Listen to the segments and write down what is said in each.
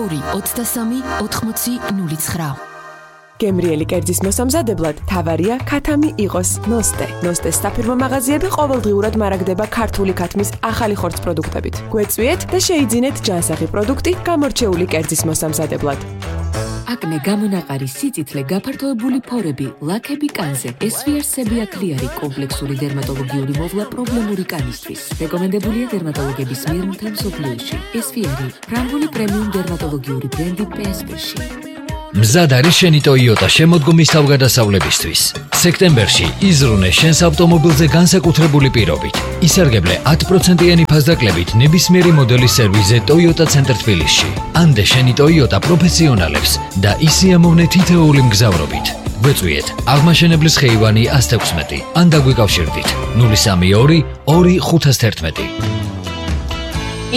2-23-80-09. გემრიელი კერძის მოსამზადებლად თავარია ქათამი იყოს ნოსტე. ნოსტეს საფირმო მაღაზიები ყოველდღიურად მარაგდება ქართული ქათმის ახალი ხორცს პროდუქტებით. გვეწვიეთ და შეიძინეთ ჯანსაღი პროდუქტი გამორჩეული კერძის მოსამზადებლად. აკნე, გამონაყარი, სიწითლე, გაფართოებული ფორები, ლაქები კანზე, SVR-სები აკლიარი კომპლექსური დერმატოლოგიური მოვლა პრობლემური კანისთვის. რეკომენდებულია დერმატოლოგების მიერ მთელ მსოფლიოში. SVR-ი ფრანგული პრემიუმ დერმატოლოგიური ბრენდი PSP-ში. მზად არის შენი Toyota შემოდგომის თავგადასავლებისთვის. სექტემბერში იზრუნე შენს ავტომობილზე განსაკუთრებული პირობით. ისარგებლე 10%-იანი ფასდაკლებით ნებისმიერი მოდელის სერვისზე Toyota Center თბილისში. ანდე შენი Toyota პროფესიონალებს და ისიამოვნე თითოეული მგზავრობით. გვეწვიეთ აღმაშენებლის ხეივანი 116 ან დაგვიკავშირდით 032 2511.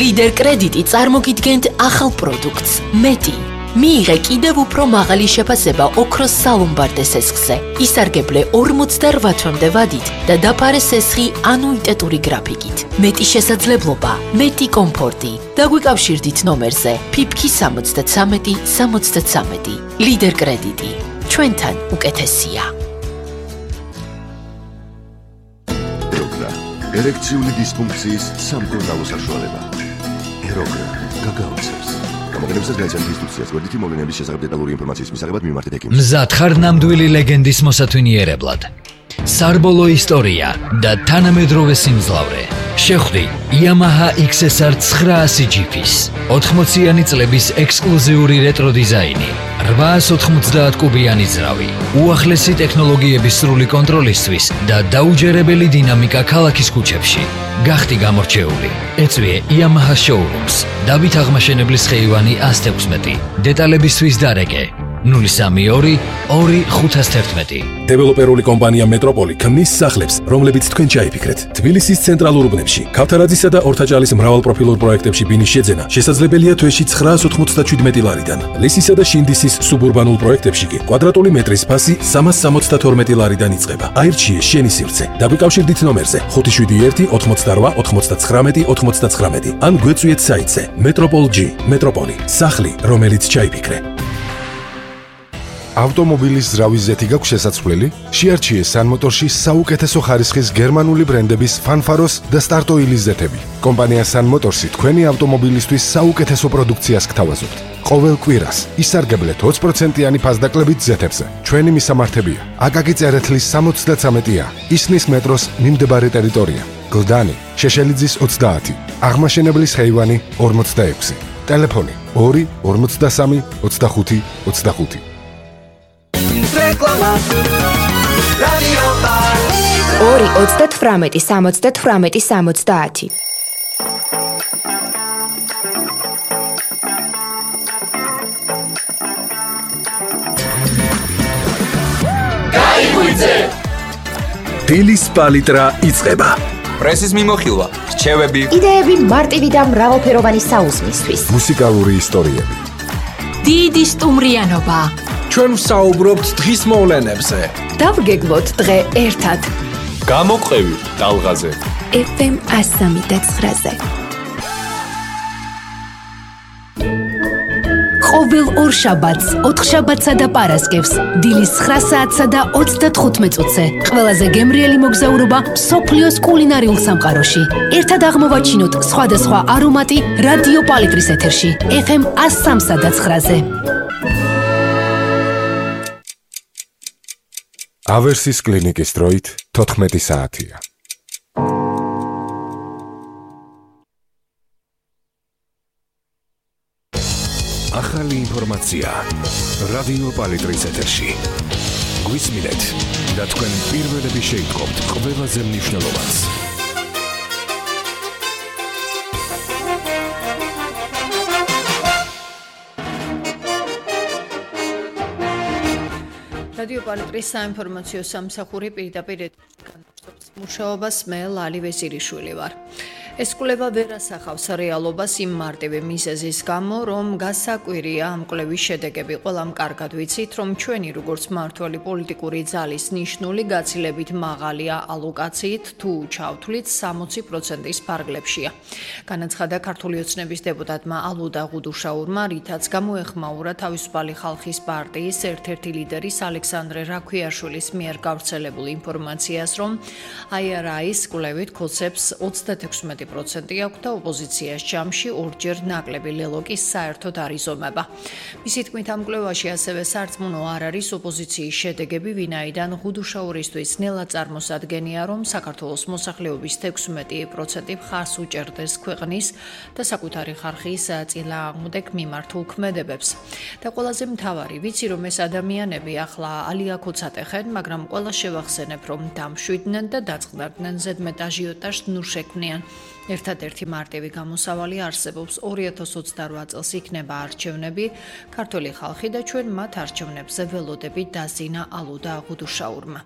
ლიდერ კრედიტი წარმოგიდგენთ ახალ პროდუქტს მეტი. მიიღე კიდევ უფრო მაღალი შეფასება ოქროს სალომბარდე სესხზე. ისარგებლე 48 თვემდე ვადით და დაფარე სესხი ანუიტეტური გრაფიკით. მეტი შესაძლებლობა, მეტი კომფორტი. დაგვიკავშირდით ნომერზე ფიფქი 73 73. ლიდერ კრედიტი. ჩვენთან უკეთესია. ეროგრა, ერექციული დისფუნქციის სამკურნალო საშუალება. ეროგრა, გაგაოცებს. გამოგონებსაც გაიცანთ ინსტრუქციას გვერდითი მოვლენების შესახებ დეტალური ინფორმაციის მისაღებად მიმართეთ ექიმს. მზად ხარ ნამდვილი ლეგენდის მოსათვინიერებლად. სარბოლო ისტორია და თანამედროვე სიმძლავრე. შეხვდი Yamaha XSR 900 GP-ს. 80-იანი წლების ექსკლუზიური რეტრო დიზაინი. 890 კუბიანი ძრავი. უახლესი ტექნოლოგიების სრული კონტროლისთვის და დაუჯერებელი დინამიკა ქალაქის ქუჩებში. გახდი გამორჩეული. ეწვიე Yamaha showrooms. დავით აღმაშენებლის ხეივანი 116. დეტალებისთვის დარეკე 032 2511. დეველოპერული კომპანია მეტროპოლი ქმნის სახლებს, რომლებიც თქვენ ჩაიფიქრეთ. თბილისის ცენტრალურ უბნებში, ქავთარაძისა და ორთაჭალის მრავალპროფილურ პროექტებში ბინის შეძენა შესაძლებელია თვეში 997 ლარიდან. ლისისა და შინდისის სუბურბანულ პროექტებში კი კვადრატული მეტრის ფასი 372 ლარიდან იწყება. აირჩიე შენი სივრცე. დაგვიკავშირდით ნომერზე 571 88 99 99 ან გვეწვიეთ საიტზე Metropol-G. მეტროპოლი, სახლი, რომელიც ჩაიფიქრე. ავტომობილის ზრავის ზეთი გაქვს შესაძლებელი? შეარჩიე სანმოტორში საუკეთესო ხარისხის გერმანული ბრენდების ფანფაროს და სტარტოილის ზეთები. კომპანია სანმოტორსი თქვენი ავტომობილისთვის საუკეთესო პროდუქციას გთავაზობთ. ყოველ კვირას ისარგებლეთ 20%-იანი ფასდაკლებით ზეთებზე. ჩვენი მისამართებია: აკაკი წერეთლის 73-ა, ისნის მეტროს მიმდებარე ტერიტორია, გლდანი, შეშელიძის 30, აღმაშენებლის ხეივანი 46, ტელეფონი 2 53 25 25. რეკლამა რადიო ბარ 2 38 78 70. გაიგვიძე დილის პალიტრა იწყება. პრესის მიმოხილვა, რჩევები, იდეები მარტივი და მრავალფეროვანი საუზმისთვის. მუსიკალური ისტორიები. დიდი სტუმრიანობა. ჩვენ ვსაუბრობთ დღის მოვლენებზე. დავგეგმოთ დღე ერთად. გამოყევი ტალღაზე. FM 103.9-ზე. ყოველ ორშაბათს, ოთხშაბათსა და პარასკევს, დილის 9 საათსა და 35 წუთზე. ყველაზე გემრიელი მოგზაურობა მსოფლიოს კულინარიულ სამყაროში. ერთად აღმოვაჩინოთ სხვადასხვა არომატი რადიო პალიტრის ეთერში. FM 103.9-ზე. ავერსის კლინიკის დროით 14 საათია. ახალი ინფორმაცია რადიო პალიტრის ეთერში. გვისმინეთ და თქვენ პირველები შეიტყობთ ყველაზე მნიშვნელოვანს. რადიო პალიტრის საინფორმაციო სამსახური პირდაპირ განაგრძობს მუშაობას. მე ლალი ვეზირიშვილი ვარ. ეს კვლევა ვერ ასახავს რეალობას იმ მარტივი მიზეზის გამო, რომ გასაკვირია ამ კვლევის შედეგები. ყველამ კარგად ვიცით, რომ ჩვენი როგორც მმართველი პოლიტიკური ძალის ნიშნული გაცილებით მაღალია ალოკაციით, თუ ჩავთვლით 60%-ის ფარგლებშია. განაცხადა ქართული ოცნების დეპუტატმა ალუდა ღუდუშაურმა, რითაც გამოეხმაურა თავისუფალი ხალხის პარტიის ერთ-ერთი ლიდერის ალექსანდრე რაქვიაშვილის მიერ გავრცელებულ ინფორმაციას, რომ IRI-ის კვლევით ქოცებს 36% აქვს და ოპოზიციაში ჯამში ორჯერ ნაკლები ლელოკის საერთოდ არ იზომება. მისი თქმით, ამ კვლევაში ასევე სარწმუნო არ არის ოპოზიციის შედეგები, ვინაიდან ღუდუშაურისთვის ნელა წარმოსადგენია, რომ საქართველოს მოსახლეობის 16% მხარს უჭერდეს ქვეყნის და საკუთარი ხალხის წინააღმდეგ მიმართულ ქმედებებს. და ყველაზე მთავარი, ვიცი რომ ეს ადამიანები ახლა ალიაკოც ატეხენ, მაგრამ ყველა შევახსენებ, რომ დამშვიდნენ და დაწყდარდნენ ზედმეტ აჟიოტაჟს ნუ შექმნიან. ერთადერთი მარტივი გამოსავალი არსებობს 2028 წელს იქნება არჩევნები, ქართული ხალხი და ჩვენ მათ არჩევნებზე ველოდებით დაზინა ალუდა ღუდუშაურმა.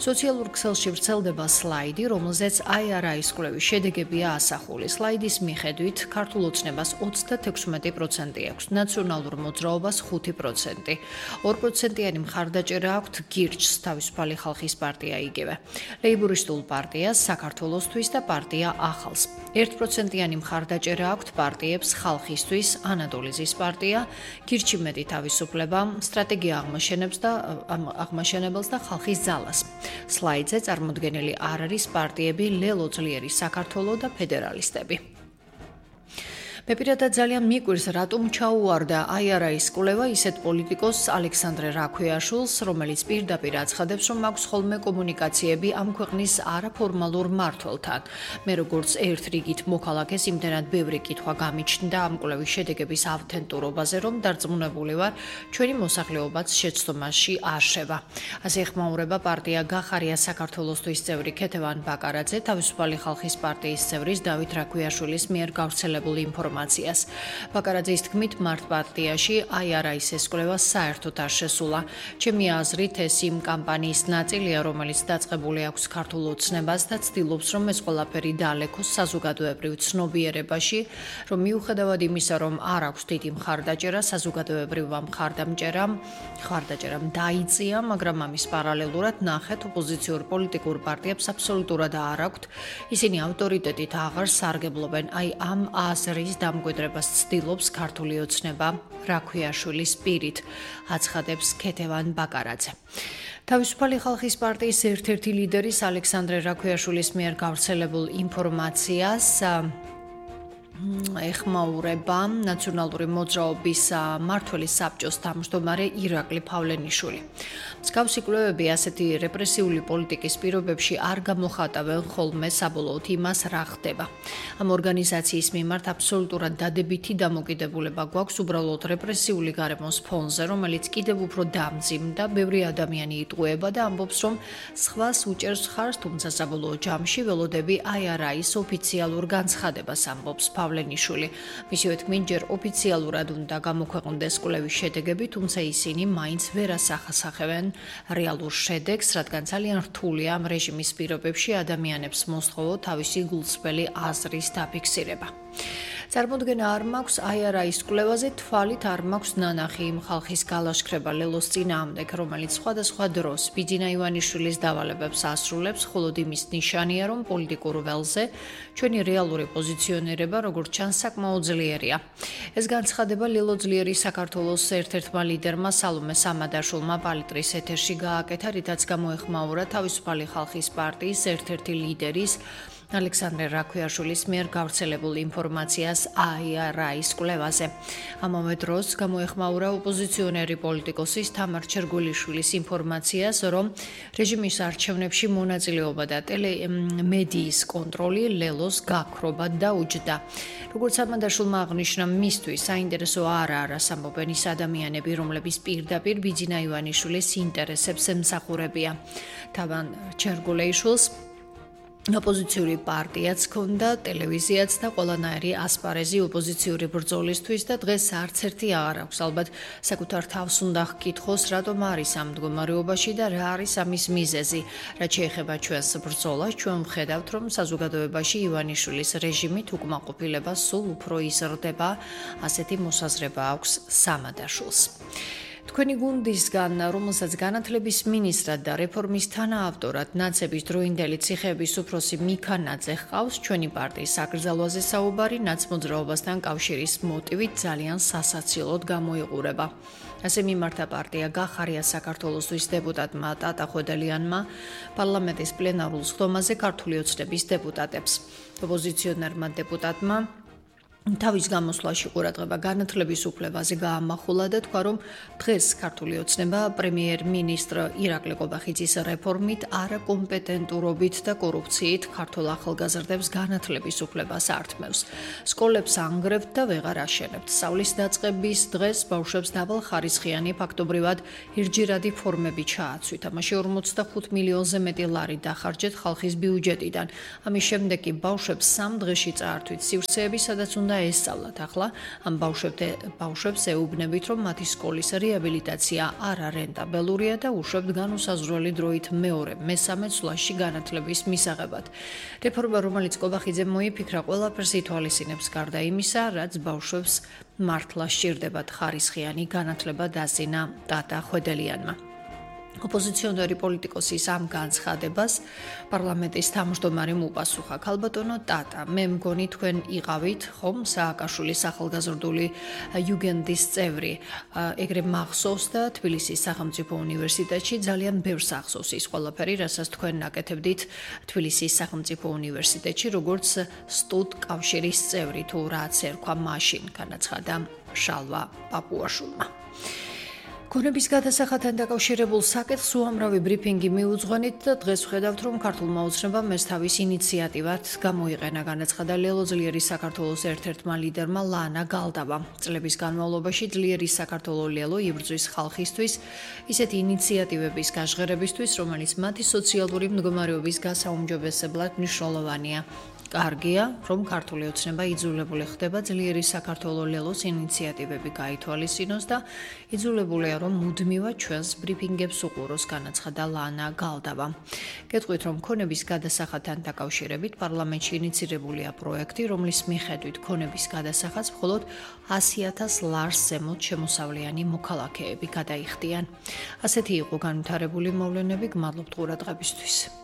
სოციალურ ქსელში ვრცელდება სლაიდი, რომელზეც IRI-ის კვლევის შედეგებია ასახული. სლაიდის მიხედვით ქართულ ოცნებას 36% აქვს, ნაციონალურ მოძრაობას 5%, 2%-იანი მხარდაჭერა აქვთ გირჩს, თავისუფალი ხალხის პარტია იგივე, ლეიბურისტულ პარტიას, საქართველოსთვის და პარტია ახალს. 1%-იანი მხარდაჭერა აქვთ პარტიებს ხალხისთვის, ანატოლიზის პარტია, გირჩი მეტი თავისუფლება, სტრატეგია აღმაშენებელს და ხალხის ძალას. სლაიდზე წარმოდგენილი არ არის პარტიები ლელო ძლიერი საქართველო და ფედერალისტები. მე პირადად ძალიან მიკვირს, რატომ ჩაუვარდა IRI-ის კვლევა ისეთ პოლიტიკოსს ალექსანდრე რაქვიაშვილს, რომელიც პირდაპირ აცხადებს, რომ აქვს ხოლმე კომუნიკაციები ამ ქვეყნის არაფორმალურ მმართველთან. მე როგორც ერთ რიგით მოქალაქეს იმდენად ბევრი კითხვა გამიჩნდა ამ კვლევის შედეგების ავთენტურობაზე, რომ დარწმუნებული ვარ, ჩვენი მოსახლეობაც შეცდომაში არ შევა. ასე ეხმაურება პარტია გახარია საქართველოსთვის წევრი ქეთევან ბაკარაძე, თავისუფალი ხალხის პარტიის წევრის დავით რაქვიაშვილის მიერ გავრცელებულ ინფორმაციას. ბაკარაძის თქმით, მარტ-პარტიაში IRI-ის ეს კვლევა საერთოდ არ შესულა. ჩემი აზრით, ეს იმ კამპანიის ნაწილია, რომელიც დაწყებული აქვს ქართულ ოცნებას და ცდილობს, რომ ეს ყველაფერი დაალეკოს საზოგადოებრივ ცნობიერებაში, რომ მიუხედავად იმისა, რომ არ აქვს დიდი მხარდაჭერა, საზოგადოებრივმა მხარდაჭერამ დაიწია, მაგრამ ამის პარალელურად ნახეთ, ოპოზიციურ პოლიტიკურ პარტიებს აბსოლუტურად არ აქვთ. ისინი ავტორიტეტით აღარ სარგებლობენ, აი ამ აზრის დამკვიდრებას ცდილობს ქართული ოცნება რაქვიაშვილის პირით, აცხადებს ქეთევან ბაკარაძე. თავისუფალი ხალხის პარტიის ერთ-ერთი ლიდერის ალექსანდრე რაქვიაშვილის მიერ გავრცელებულ ინფორმაციას ეხმაურება ნაციონალური მოძრაობის მმართველი საბჭოს თავმჯდომარე ირაკლი ფავლენიშვილი. მსგავსი კვლევები ასეთი რეპრესიული პოლიტიკის პირობებში არ გამოხატავენ ხოლმე საბოლოოდ იმას, რა ხდება. ამ ორგანიზაციის მიმართ აბსოლუტურად დადებითი დამოკიდებულება გვაქვს უბრალოდ რეპრესიული გარემოს ფონზე, რომელიც კიდევ უფრო დამძიმდა, ბევრი ადამიანი იტყუება და ამბობს, რომ სხვას უჭერს ხარს, თუმცა საბოლოო ჯამში ველოდები IRI-ის ოფიციალურ განცხადებას, ამბობს ფავლენიშვილი. მისივე თქმით, ჯერ ოფიციალურად უნდა გამოქვეყნდეს კვლევის შედეგები, თუმცა ისინი მაინც ვერ ასახავენ რეალურ შედეგს, რადგან ძალიან რთულია ამ რეჟიმის პირობებში ადამიანებს მოსთხოვო თავისი გულწრფელი აზრის დაფიქსირება. წარმოდგენა არ მაქვს IRI-ის კვლევაზე, თვალით არ მაქვს ნანახი იმ ხალხის გალაშქრება ლელოს წინააღმდეგ, რომელიც სხვადასხვა დროს ბიძინა ივანიშვილის დავალებებს ასრულებს, მხოლოდ იმის ნიშანია, რომ პოლიტიკურ ველზე ჩვენი რეალური პოზიციონირება, როგორც ჩანს, საკმაოდ ძლიერია. ეს განცხადება ლელო ძლიერი საქართველოს ერთ-ერთმა ლიდერმა სალომე სამადაშვილმა პალიტრის ეთერში გააკეთა, რითაც გამოეხმაურა თავისუფალი ხალხის პარტიის ერთ-ერთი ლიდერის ალექსანდრე რაქვიაშვილის მიერ გავრცელებულ ინფორმაციას IRI-ის კვლევაზე. ამავე დროს გამოეხმაურა ოპოზიციონერი პოლიტიკოსის თამარ ჩერგულიშვილის ინფორმაციას, რომ რეჟიმის არჩევნებში მონაწილეობა და ტელემედიის კონტროლი ლელოს გაქრობად დაუჯდა. როგორც სამადაშვილმა აღნიშნა, მისთვის საინტერესო არას ამბობენ ის ადამიანები, რომლების პირდაპირ ბიძინა ივანიშვილის ინტერესებს ემსახურებიან. თამარ ჩერგულიშვილს ოპოზიციური პარტიაც ჰქონდა, ტელევიზიაც და ყველანაირი ასპარეზი ოპოზიციური ბრძოლისთვის და დღეს არც ერთი აღარ აქვს. ალბათ საკუთარ თავს უნდა ჰკითხოს, რატომ არის ამ მდგომარეობაში და რა არის ამის მიზეზი. რაც შეეხება ჩვენს ბრძოლას, ჩვენ ვხედავთ, რომ საზოგადოებაში ივანიშვილის რეჟიმით უკმაყოფილება სულ უფრო იზრდება, ასეთი მოსაზრება აქვს სამადაშვილს. თქვენი გუნდისგან, რომელსაც განათლების მინისტრად და რეფორმის თანაავტორად ნაცების დროინდელი ციხეების უფროსი მიქანაძე ჰყავს, ჩვენი პარტიის საკრძალვაზე საუბარი ნაცმოძრაობასთან კავშირის მოტივით ძალიან სასაცილოდ გამოიყურება. ასე მიმართა პარტია გახარია საქართველოსთვის დეპუტატმა ტატა ხვედელიანმა პარლამენტის პლენარულ სხდომაზე ქართული ოცნების დეპუტატებს. ოპოზიციონერმა დეპუტატმა თავის გამოსვლაში ყურადღება განათლების უფლებაზე გაამახვილა და თქვა, რომ დღეს ქართული ოცნება პრემიერ-მინისტრ ირაკლი ყობახიძის რეფორმით, არაკომპეტენტურობით და კორუფციით ქართულ ახალგაზრდებს განათლების უფლებას ართმევს. სკოლებს ანგრევთ და ვეღარ აშენებთ. სწავლის დაწყების დღეს ბავშვებს დაბალხარისხიანი ფაქტობრივად ერთჯერადი ფორმები ჩააცვით. ამაში 45 მილიონზე მეტი ლარი დახარჯეთ ხალხის ბიუჯეტიდან. ამის შემდეგ კი ბავშვებს 3 დღეში წაართვით სივრცეები, სადაც უნდა ესწავლათ. ახლა ამ ბავშვებს ეუბნებით, რომ მათი სკოლის რეაბილიტაცია არარენტაბელურია და უშვებთ განუსაზღვრელი დროით მეორე, მესამე ცვლაში განათლების მისაღებად. რეფორმა, რომელიც ყობახიძემ მოიფიქრა, ყველაფერს ითვალისწინებს გარდა იმისა, რაც ბავშვებს მართლა სჭირდებათ ხარისხიანი განათლება დასძინა ტატა ხვედელიანმა. ოპოზიციონერი პოლიტიკოსის ამ განცხადებას პარლამენტის თავმჯდომარემ უპასუხა. ქალბატონო ტატა, მე მგონი თქვენ იყავით ხომ სააკაშვილის ახალგაზრდული იუგენდის წევრი. ეგრე მახსოვს და თბილისის სახელმწიფო უნივერსიტეტში ძალიან ბევრს ახსოვს ის ყველაფერი, რასაც თქვენ აკეთებდით თბილისის სახელმწიფო უნივერსიტეტში, როგორც სტუდკავშირის წევრი, თუ რაც ერქვა მაშინ, განაცხადა შალვა პაპუაშვილმა. ქონების გადასახადთან დაკავშირებულ საკითხს უამრავი ბრიფინგი მიუძღვენით და დღეს ვხედავთ, რომ ქართულმა ოცნებამ ეს თავის ინიციატივად გამოიყენა, განაცხადა ლელო ძლიერის საქართველოს ერთ-ერთმა ლიდერმა ლანა გალდავამ. წლების განმავლობაში ძლიერი საქართველო ლელო იბრძვის ხალხისთვის ისეთი ინიციატივების გაჟღერებისთვის, რომელიც მათი სოციალური მდგომარეობის გასაუმჯობესებლად მნიშვნელოვანია. კარგია, რომ ქართული ოცნება იძულებული ხდება ძლიერი საქართველო ლელოს ინიციატივები გაითვალისწინოს და იძულებულია, რომ მუდმივად ჩვენს ბრიფინგებს უყუროს, განაცხადა ლანა გალდავა. გეტყვით, რომ ქონების გადასახადთან დაკავშირებით პარლამენტში ინიცირებულია პროექტი, რომლის მიხედვით ქონების გადასახადს მხოლოდ 100,000 ლარს ზემოთ შემოსავლიანი მოქალაქეები გადაიხდიან. ასეთი იყო განვითარებული მოვლენები, გმადლობთ ყურადღებისთვის.